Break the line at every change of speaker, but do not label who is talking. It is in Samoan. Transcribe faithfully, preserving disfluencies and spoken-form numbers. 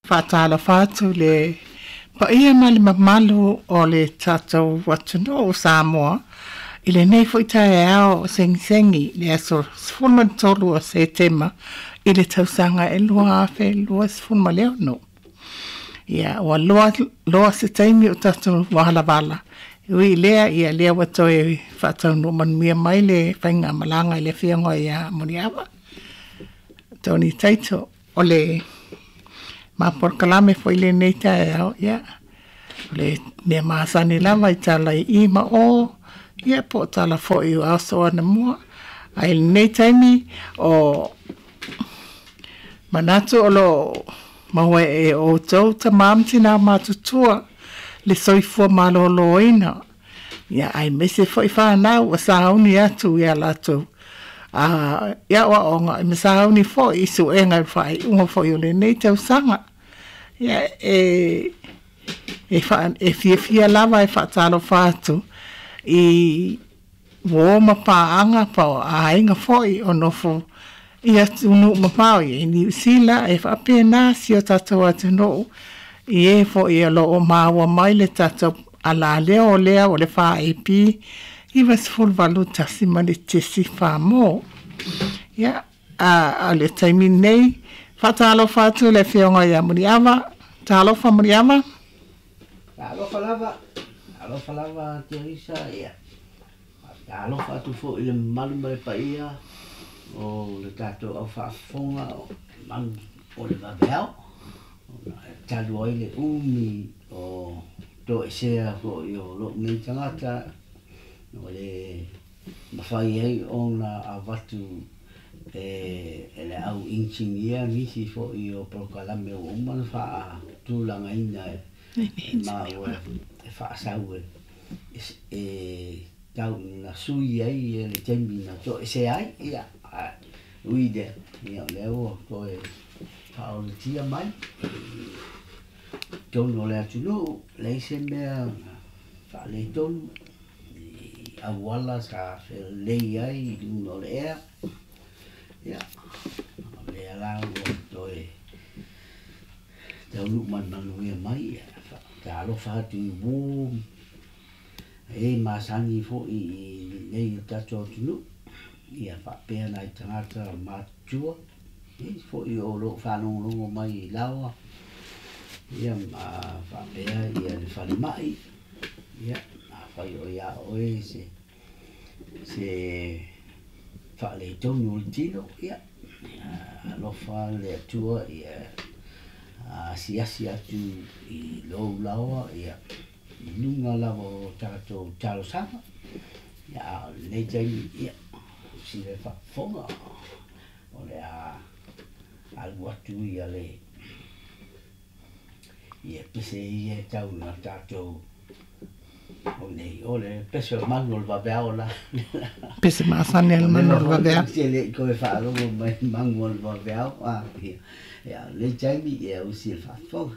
Faatalofa atu i le paia ma le mamalu o le tatou atunuu o Samoa i lenei foi taeao segisegi le aso sefulu ma le tolu o Setema i le tausaga e lua afe luasefulu ma le ono. Ia ua loa loa se taimi o tatou valavala, e ui i lea ia lea ua toe faataunuu manuia mai le faigamalaga i le afioga ia Moniava Tony Taito. O le ma polokalame foi lenei taeao, ia o le mea masani lava i tala i i ma o, ia po o tala foi o aso anamua. Ae i lenei taimi o manatu o lo o maua e outou tamā ma tinā matutua le soifua malōlōina, ia aemaise foi fanau ua sauni atu i a latou a i aoaoga ma sauni foi i suega i faaiuga foi o lenei tausaga. Ia e e faa e fiafia lava e faatalofa atu i uō ma paaga po o aiga foi o nofo i atunuu mamao i Niu Sila e faapena si o tatou atunuu i e foi o lo o maua mai le tatou alaleo lea o le F A P ivasefuluvalu tasi ma le tesi fa mo. Ia a o le taimi lenei, faatalofa atu le afioga ia Muliava. Talofa Muliava.
Talofa lava, talofa lava Teresa, ia. Talofa atu foi i le mamalu ma le paia o le tatou au faafofoga o manu o le vaveao. Ona e talu ai le umi o toesea foi o lou nei tagata o le mafai ai ona avatu e, e le au inisinia nisi foi o polokalame ua uma ona faatulagaina e maua e faasau e, e tau ina sui ai le taimi na toesea ai. Ia, ui lea, ia o lea ua toe faaolatia mai i totonu o le atunuu, leai se mea faaletonu i auala sa felelei ai i luga o le ea. Ia, o lea la ua toe taunuu manumanuia mai. Ia, faatalofa atu i uō e masani foi i lenei o tatou atunuu, ia faapea nai tagata matutua foi o loo faalogologo mai i laoa, ia ma faapea ia le falemai. Ia afai o ia oe se se faaletonu o le tino, ia alofa le Atua ia asiasi atu i lou laoa, ia i luga lava o tatou talosaga. Ia a o lenei taimi, ia sila faafofoga o le a alu atu ia le ia pese ia e tau na tatou o nei o le pese o le manu o le vaveao la.
Pese masani a le manu o le vaveao.
Se le i koe faalogo mai manu o le vaveao a ia ia le taimi ia usi le faafofoga.